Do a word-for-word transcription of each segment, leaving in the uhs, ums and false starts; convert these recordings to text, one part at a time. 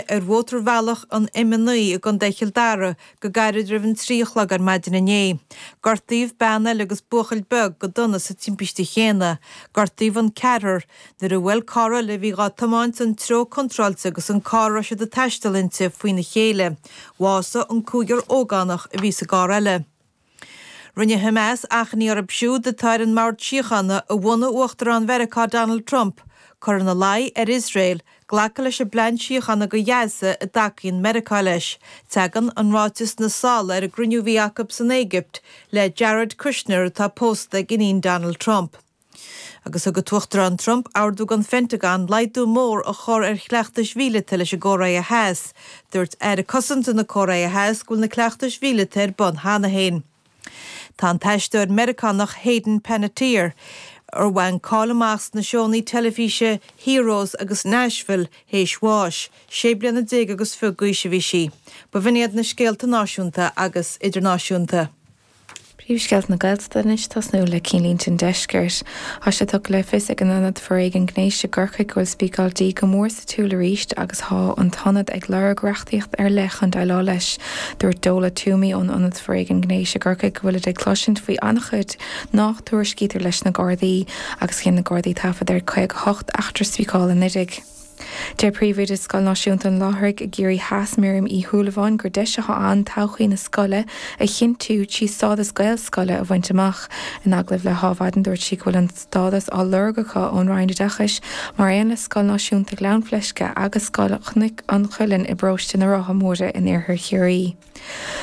ar mhótarbhealach an M a naoi i gContae Chill Dara go gairid roimh an trí a chlog ar maidin inné. Gortaíodh bean eile agus buachaill beag go dona sa timpiste chéanna. Gortaíodh an ceathrar nuair a bhuail carr eile a bhí dhá tiomáint an treo contráilte agus an carr a raibh siad ag taisteal inti faoina chéile. Bhásaigh an cúigear ógánach a bhí sa gcarr eile. Rinne Hamas achainí orthu siúd atá ar an mbord síochána a bhunaigh Uachtarán Mheiriceá Donald Trump cur ina luí ar Iosrael glacadh leis an bplean síochána do Ghaza a dtacaíonn Meiriceá leis. Tagann an ráiteas sna sála ar an gcruinniú a bhí acu san Éigipt le Jared Kushner atá pósta ag iníon Donald Trump. Agus thug an tUachtarán Trump ordú don Phentagon laghdú mór a chur ar chleachtais mhíleata leis an gCóiré Theas. Dúirt Aire Cosanta na Cóiré Theas go bhfuil na cleachtais mhíleata ar bun cheana féin. Tá an t-aisteoir Meiriceánach Hayden Panettiere ar bhain cáil amach sna seónna teilifíse Heroes agus Nashville théis bháis, sé bliana déag agus fiche d'aois a bhí sí. B'in iad na scéalta náisiúnta agus idirnáisiúnta. Príomhscéalta na Gaeltachta anois tosnú le cinnlínte an deiscirt. Tá sé tugtha le fios ag an Ionad Foréigin Gnéis i gCorcaigh go bhfuil spíceáil dí go mór sa tsiúl arís agus tá an t-ionad ag lorg reachtaíocht ar leith chun déileáil leis. Dúirt Dola Toomey ón Ionad Foréigin Gnéis i gCorcaigh go bhfuil ag cloisint faoi an-chuid nach dtuairiscítear leis na Gardaí agus dhein na Gardaí taifead ar caoga hocht eachtra spíceála anuraidh. Deir príomhoide Scoil Náisiúnta an Láithrigh i gCiarraí Theas Miriam Uí Shúilleabháin gur deis atá ann todhchaí na scoile a chinntiú trí stádas Gaelscoile a bhaint amach. In agallamh le hAdhmhaidin dúirt sí go bhfuil an stádas á lorg acu ón Roinn Oideachais mar aon le Scoil Náisiúnta Ghleann Fleisce agus Scoil Chnoc an Chuilinn i bparóiste na Rátha Móire in iarthar Chiarraí.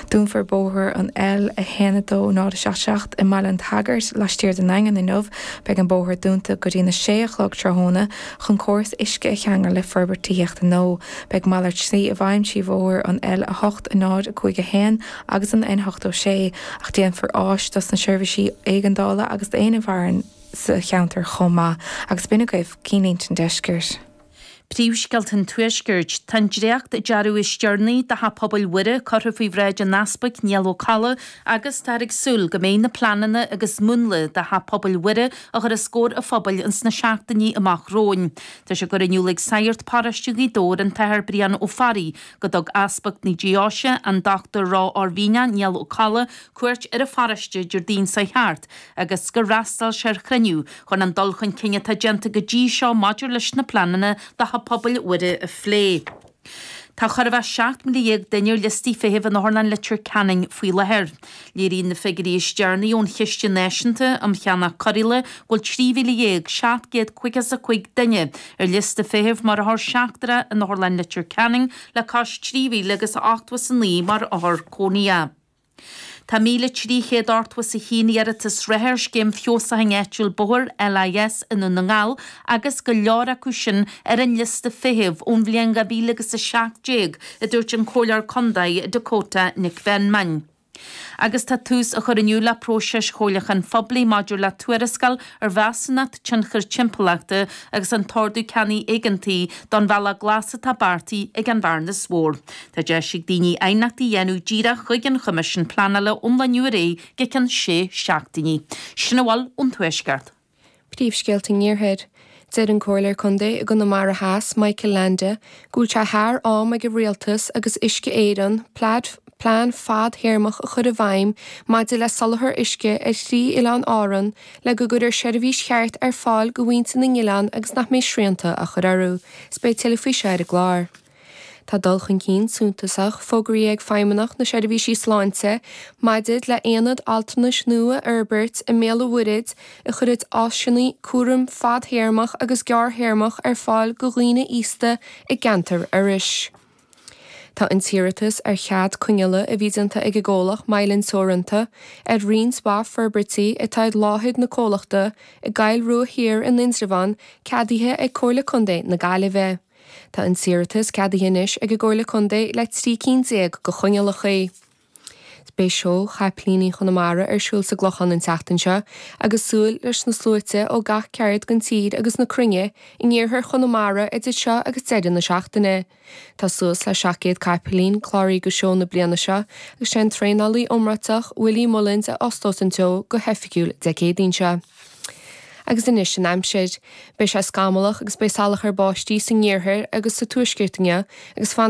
Dúnfar bóthar an L a haon a dó náid a seacht seacht i mBaile an tSagairt laistiar den Daingean inniu, beidh an bóthar dúnta go dtí na sé a chlog tráthnóna chun córas uisce a cheangal le forbairt tithíochta nua. Beidh malairt slí i bhfeidhm trí bhóthar an L a hocht a náid a cúig a haon agus an N ochtó sé, ach déanfar áis dos na seirbhísí éigeandála agus d'aon a mhaireann sa cheantar chomh maith, agus b'in agaibh cinnlínte an deiscirt. Príomhscéalta an Tuaiscirt. Tá an dréacht-dearadh is deireanaí do Theach Pobail Mhuire curtha faoi bhráid an Easpaig Niall Ó Colla agus táthar ag súil go mbeidh na pleananna agus múnla do Theach Pobail Mhuire a chur os comhair an phobail ins na seachtainí amach romhainn. Tá sé curtha in iúl ag Sagart Paróiste Ghaoth Dobhair an tAthair Brian Ó Fearraigh go dtug Easpag na Deoise an Dr Ró-Oirmhinneach Niall Ó Colla cuairt ar an pharóiste Déardaoin seo thart agus gur fhreastail sé ar chruinniú chun an dul chun cinn atá déanta go dtí seo maidir leis na pleananna do Theach Pobail Mhuire a phlé. Tá chóir a bheith seacht míle dhéag duine ar liostaí feithimh in Otharlann Leitir Ceanainn faoi láthair. Léiríonn na figiúirí is deireanaí ón Chiste Náisiúnta um Cheannach Cóireála go bhfuil trí mhíle dhéag seacht gcéad caoga is a cúig duine ar liosta feithimh mar othar seachtrach in Otharlann Leitir Ceanainn le cois trí mhíle agus ochtó is a naoi mar othar cónaithe. Tá míle trí chéad ochtó is a haon iarratas reatha ar scéim feabhsúcháin áitiúil bóthair LIS i nDún na nGall agus go leor acu sin ar an liosta feithimh ón bhliain dhá mhíle agus a seacht déag, a dúirt an Comhairleoir Contae Dakota Nic Mheanman. Agus tá tús á chur inniu le próiseas chomhairliúcháin phoiblí maidir le tuarascáil ar mheasúnacht tionchair timpeallachta agus an t-ordú ceannaigh éigeantaigh don bhealach glas atá beartaithe ag an Bhearnas Mhór. Tá deis ag daoine aighneachtaí a dhéanamh díreach chuig an Choimisiún Pleanála ón lá inniu ar aghaidh go ceann sé seachtainí. Sin a bhfuil ón Tuaisceart. Príomhscéalta an Iarthair. Deir an Comhairleoir Contae i gConamara Theas, Michael Leainde, go bhfuil sé thar am ag an Rialtas agus Uisce Éireann plean fadtéarmach a chur i bhfeidhm maidir le soláthar uisce ar thrí oileán Árann le go gcuirfear seirbhís cheart ar fáil do mhuintir na n-oileán agus nach mbeidh srianta á chur orthu. Is beidh tuilleadh faoi seo ar an gclár. Tá dul chun cinn suntasach fógraithe ag Feidhmeannacht na Seirbhísí Sláinte maidir le haonad altranais nua a fhorbairt i mBéal an Mhuirthead a chuirfidh áiseanna cúraim fadtéarmach agus gearrthéarmach ar fáil do dhaoine aosta i gceantar Iorrais. Tá an t-iarratas ar chead coinneála a bhí déanta ag an gcomhlacht Mylan Teoranta ar roinnt mhaith forbairtí atá ar láthair na comhlachta i gCoill Rua Thiar in Indreabhán ceadaithe ag Comhairle Contae na Gaillimhe. Tá an t-iarratas ceadaithe anois ag an gComhairle Contae le trí cinn déag de choinníollacha. Beidh seó Chapaillíní Chonamara ar siúl sa gClochán an tseachtain seo agus súil leis na sluaite ó gach ceard den tír agus na cruinne in iarthar Chonamara idir seo agus deireadh na seachtaine. Tá suas le seacht gcéad capaillín cláraithe do seó na bliana seo agus sé an traenálaí iomráiteach Willie Mullins a osclós an seó go hoifigiúil Dé Céadaoin seo. Agus anois an aimsir. Beidh sé scamallach agus beidh salachar báistí san iarthar agus sa tuaisceart inniu agus fanfaidh